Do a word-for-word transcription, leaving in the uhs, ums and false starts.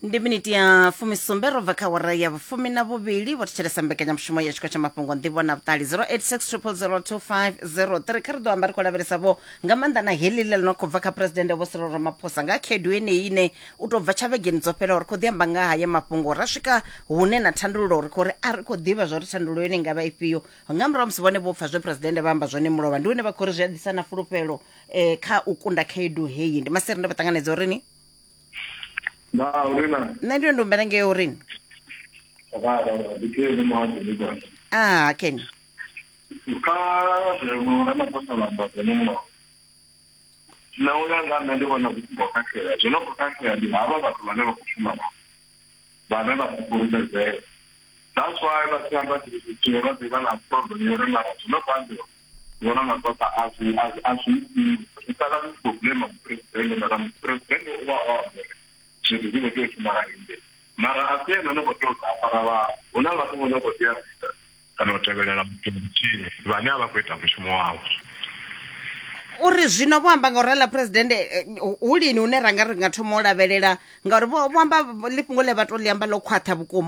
Ndi miniti ya fumisumbe ro bva kha wara ya vhufumi na vhuvhili. Vho thetshelesa mbekanyamushumo ya tshiko tsha mafhungo, nḓivho na vhuṱali, zero eight six triple zero two five zero three. Kha ri ḓo amba ri khou lavhelesa vho nga maanḓa na heḽi ḽe ḽi no khou bva kha Presidennde Vho Cyril Ramaphosa nga khaedu yeneyi ine u tou bva tsha vhegeni dzo fhelaho ri khou ḓi amba nga haya mafhungo, ra swika hune na thandululo ri khou ri a ri khou ḓivha zwa uri thandululo yone i nga vha ifhio. Nga murahu musi vhone vho pfa zwe Presidennde vha amba zwone mulovha, ndi hune vha khou ri zwi a ḓisa na fulufhelo eh, kha u kunda khaedu heyi. Ndi maseri, ndo vha ṱanganedza uri ni Na uri na Nṋe ndi ndo humbela ngei uri ni ndi Keni Muhadzi. Ah, Ken. Kha zwe Ramaphosa vha amba zwone mulovha, nṋe u ya nga nṋe ndi vhona zwi songo khakhea. Zwo no khou khakhea ndi havha vhathu vhane vha khou shuma navho, vhane vha sa fhulufhedzea. That's why vha tshi amba tshithu tshithihi vha ḓi vha na problem ya uri mara zwino khou ambiwa vhona nga tota a zwi a zwi a zwi itiwi. Zwi sala zwi tshi khou blame muphuresidennde, mara muphuresidennde u vha o amba uri zwithu zwi khou tea u shuma nga inde, mara a si ene ono khou tea u ḓa a fara vhathu. Hu na vhathu vho no khou tea u ita kana u tevhelela muthu muthihi vhane a vha khou ita mushumo wavho. Uri zwino vho amba nga u rala Presidennde, eh, hu lini hune ra nga ri nga thoma u lavhelela, ngauri vho vho amba ḽi fhungo ḽe vha to ḽi amba ḽo khwaṱha vhukuma?